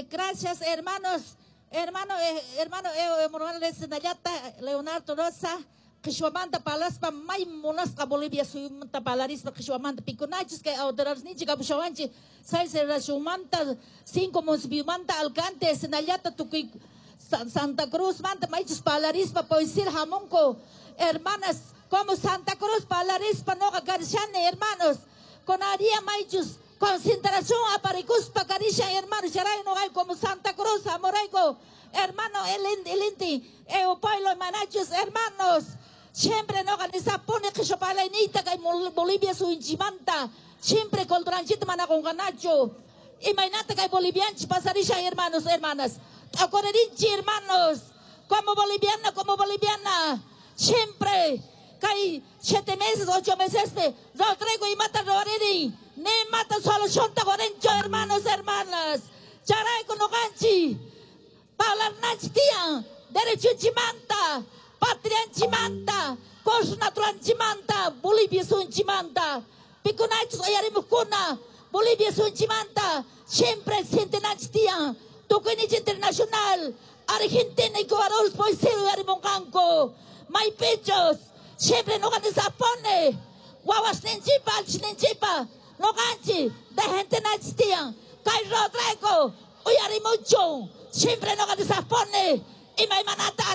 Gracias, hermanos. Hermano Evo Morales Nayata, Leonardo Rosa, Qhichwamanta parlaspa, may munasqa Bolivia suyumanta parlarispa qhichwamanta, pikunachus kay autoridadninchik kapushawanchik seis manta, cinco municipiomanta, alcalde nallata, tukuy Santa Cruz manta, maychus parlarispa poesir hamunku, hermanas, como Santa Cruz parlarispa noqa karishani, hermanos, con haría maychus concentración aparikuspa karishan, hermanos, charay noqay como Santa Cruz hamurayku, hermano, el inti eu pueblo manachus, hermanos, siempre noqa nisapuni qhichwa parlayniyta kay Bolivia suyunchikmanta, siempre culturanchikta mana qunqanachu. Imaynata kay bolivianchik pasarishan, hermanos, hermanas, t'ukurinchik, hermanos, como boliviana, como boliviana, siempre kay 7 meses, 8 meses Rodrigo imata ruwarini, ni mata solución ta qorinchu, hermanos, hermanas. Chayrayku noqanchik parlananchik tiyan derechunchikmanta, patrianchikmanta, cos naturanchikmanta, Bolivia suyunchikmanta. Pikunachus uyarimuqkuna Bolivia suyunchikmanta, siempre sientenanchik tiyan tukuyninchik internacional, Argentina, Ecuador poesía uyarimunqanku maypichus. Siempre noqa nisapuni wawasninchikpa, allchhisninchikpa noqanchik defendenanchik tiyan. Kay Rodrigo uyarimuchun, siempre noqa nisapuni imaymanata.